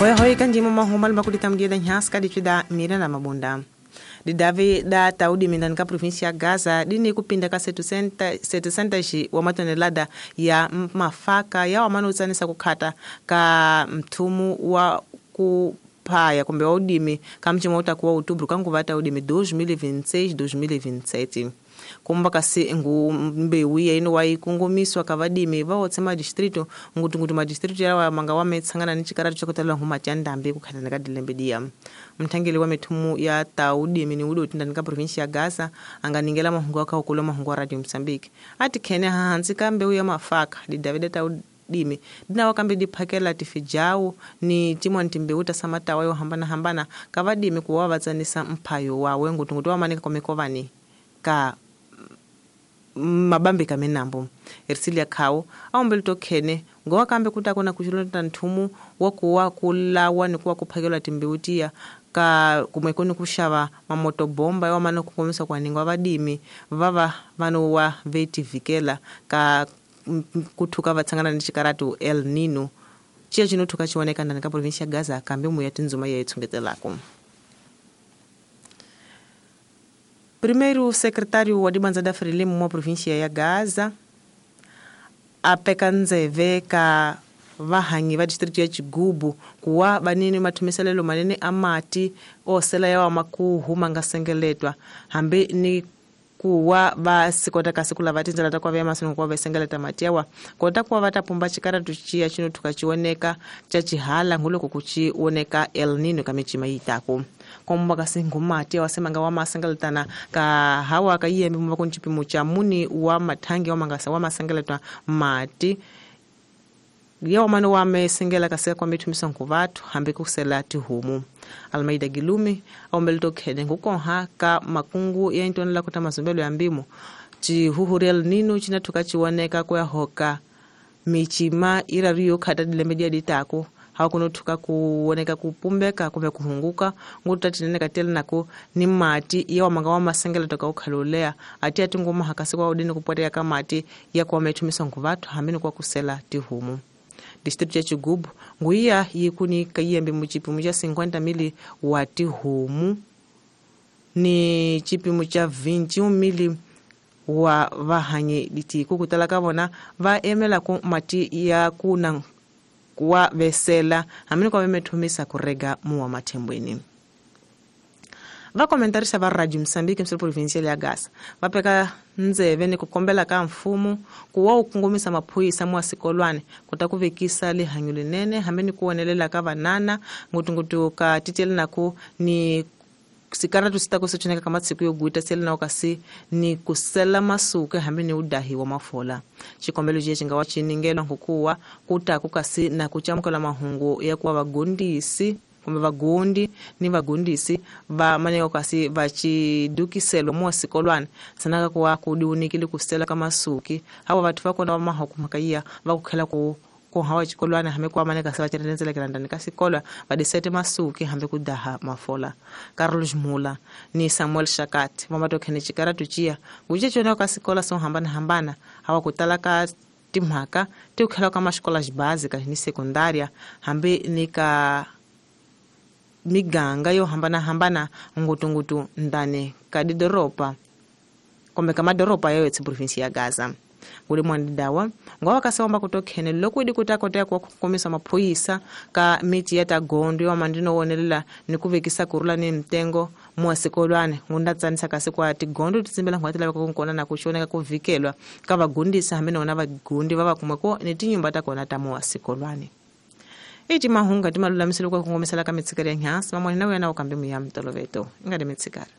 Hoi hoi kanjimo mahumba makulita mdia da nhaska dichida mira na mabunda. Didavi da taudi mindani ka província ya Gaza dini kupinda ka 700 wa matonelada ya mafaka ya wamano utsanisa kukhata ka mthumu wa kuphaya kumbe wa udimi ka mchimo utakuwa outubro kanguva taudimi 2026 2027. Kumba kasi ngu mbewu ya ino waikungumiswa kavadimi vaotse madistrito ngutungutu madistrito yawa manga wametsangana ni chikaratu chakutala huma cha ndambi kukhatana ka dilembe diya. Mthangeli wa mithumu ya taudimi ni udi utindani ka província ya Gaza anganingela mahungu akaukula mahungu wa Radio Mozambique. Ati khene hahansi ka mbewu ya mafaka didavida taudimi dinawa kambe diphakela tifijau ni timwani timbewu tasamatawa yo hambana hambana kavadimi kuwa vatsanisa mphayo wawe ngutungutu wamanika komekovani ka mabambe kamenambo. Ersilia khao aombele tokhene ngowa kambe kutakona kuchilonda nthumu wakuwa kulawa ni kuwa kuphakelwa timbewu tiya ka kumwekoni kuxava mamotobomba ya wamana kukongomisa kuaningwa vadimi vava vanowa vetivikela ka kuthuka vatsangana ni xikaratu El Nino ciya cinothuka cioneka ndani ka província ya Gaza kambe muya tindzuma ya itshungetelako. Primeiro secretário wa dibanza da Frelimo mwa província ya Gaza apeka ndzeve ka vahanyi va distrito ya Chigubu kuwa vanini mathumiselelo manene amati osela yawa makuhu mangasengeletwa hambi ni kuwa va sikota kasi kulava tindzela ta kuva masingo kuva vasengeleta mati yawa kota kuva va ta pumba xikaratu xiya xinothuka xioneka xa xihala nguloko ku xi oneka El Nino ka micima yi taku komba kasi ngumati yawa semanga wa masengeletana ka hawa ka yiyembe mumva ku ncipimo xa muni wa mathangi wa mangasa wa masengeletwa mati yawa mano wa mesengela kasi kwa mithumisa nkuvathu hambi kusela tihomu. Almeida Gilumi aombele tokhene ngukonha ka makungu ya intonela kuta mazumbelo ya mbimo chihuhuri El Nino chinathuka chiwoneka kuya hoka michima iraru yo khata dilembe dia ditako hakunothuka kuoneka kupumbeka kumbe kuhunguka nguta tinene katele nako ni mati ya manga wa masengela toka ukhalolea ati atingoma hakasi kwa udini kupotea ka mati ya kwa methumisa nkuvathu hambi ni kwa kusela tihomu. Distrito ya Chigubu nguiya yikuni kayembe muchipimo cha 50 mili wa tihomu ni chipimo cha 21 mili wa vahanyi ditiku kutala ka vona va emela ku mati ya kuna kuwa vesela hamini kwa vemethumisa kurega muwa mathembweni. Va komentarisa va Radio Mozambique msiri provincial ya Gaza va peka ndzeve ni ku kombela ka mfumo ku wa wu kongomisa maphorisa mwa sikolwane ku ta ku vekisa lihanyo linene hambi ni ku wonelela ka vanana ngutunguthu ka titele naku ni sikaratu sita ku sechoneka ka matsiku yo guita sele na kasi ni kusela masuke hambi ni udahiwa mafola. Xikombelo xi nga wa xiningelo nkukuwa ku ta ku kasi na ku camukela mahungu ya kuwa vagondisi kumbe vagondi ni vagondisi va maneko kasi va xidukiselo mo sikolwana sanaka kuwa ku diunikile kusela ka masuki hawa vathu va kona va mahuku mhaka yiya va ku khela ku hawa xikolwana hambi ku maneka se va tirhendzelekela ndani ka xikolo va disete masuki hambi ku daha mafola. Carlos Mula ni Samuel Shakati va matokhene xikaratu ciya nguce cona ka xikola swo hambanahambana hawa ku tala ka timhaka ti ku khela ka maxikola xibazika ni sekundaria hambi ni ka miganga yo hambanahambana ngutungutu ndani ka didoropa kumbe ka madoropa yayo etsi província ya Gaza. Nguli mwandidawa ngowa kasewamba kutokhene loko idi kutakoteka kuwa kukomisa maphorisa ka miti ya tagondo yo mandino wonelela ni ku vekisa kurula ni mtengo mwa sikolwane ngunda tsanisa kasi kwa tigondo titsimbela ngwati laveka kunkona na kuxoneka ku vikelwa ka vagundisa hambi nona vagundi va va kumeko ni tinyumba ta kona ta mwa sikolwane. Iti mahunga timalulamiselo kwa kungomisela ka mitsikari ya nyasi mamwani na wena ukambe muya mtoloveto ingade mitsikari.